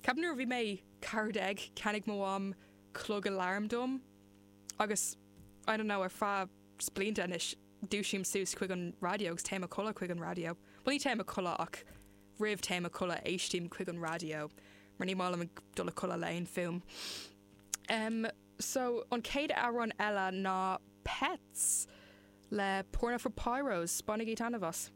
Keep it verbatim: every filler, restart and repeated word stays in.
Ceapaim nuair a bhí mé ceathair déag cheannaigh mo mham clog aláram dom agus I don't know ar feadh blianta anois dúisím suas chuig an raidió agus téim a chodladh chuig an raidió. Well ní téim a chodladh ach roimh téim a chodladh éistím chuig an raidió, mar ní maith liom dul a chodladh le haon fuaim. Um, so an chéad amhrán eile ná Pets le Porno for Pyros, bainigí taitneamh as.